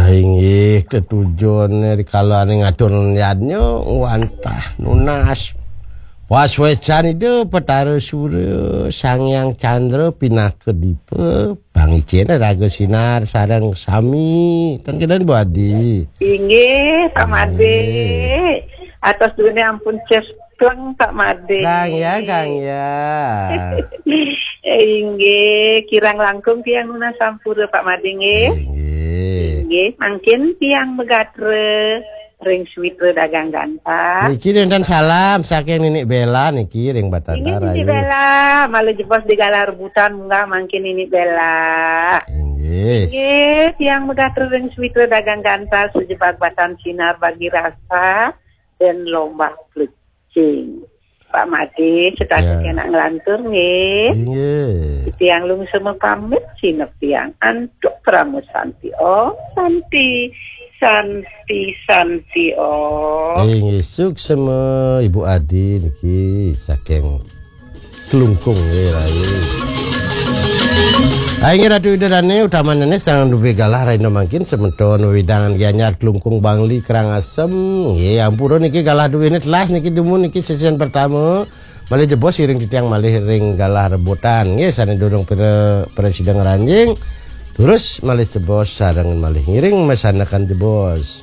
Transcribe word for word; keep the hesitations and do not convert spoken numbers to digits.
Inggih, tetujune rikala ane ngatur yadnya wantah nunas. Pas wecan Ida Petara Sura, Sang Hyang Candra pinaka dipa, pangicene raga sinar sareng sami. Ten keden Bu Adi. Inggih, Pak Made. Atos duene ampun cespleng, Pak Made. Kang ya, Kang ya. Inggih, kirang langkung tiang nunas sampura, Pak Made, nggih. Inggih. Inggih, mangkin tiang megatra ring switra dagang gantah. Niki wenten salam saking Ninik Bela niki ring Batara. Inggih, Ninik Bela, malih jebos di galah rebutan munggah mangkin Ninik Bela. Inggih. Inggih, tiang megatra ring switra dagang gantah sejebag batan sinar bagi rasa dan lomba plecing. Pak Made, setata ya. Kena nglantur nggih. Inggih. Tiang lungsema pamit sinep tiang antuk Parama Santi. Om Santi, Santi, Santi Om. Inggih, suksema Ibu Adi niki saking Klungkung nggih, rahayu. Inggih Ratu Ida Dane, utamanane sang duwe galah rahina mangkin semeton wewidangan Gianyar Klungkung Bangli Karangasem. Nggih, ampura niki galah duwene telas niki dumun niki sesian pertama. Malih jebos iring titiang malih ring galah rebutan. Nggih, sane durung pira, pira sida ngranjing. Terus malih jebos sareng malih ngiring masandekan jebos.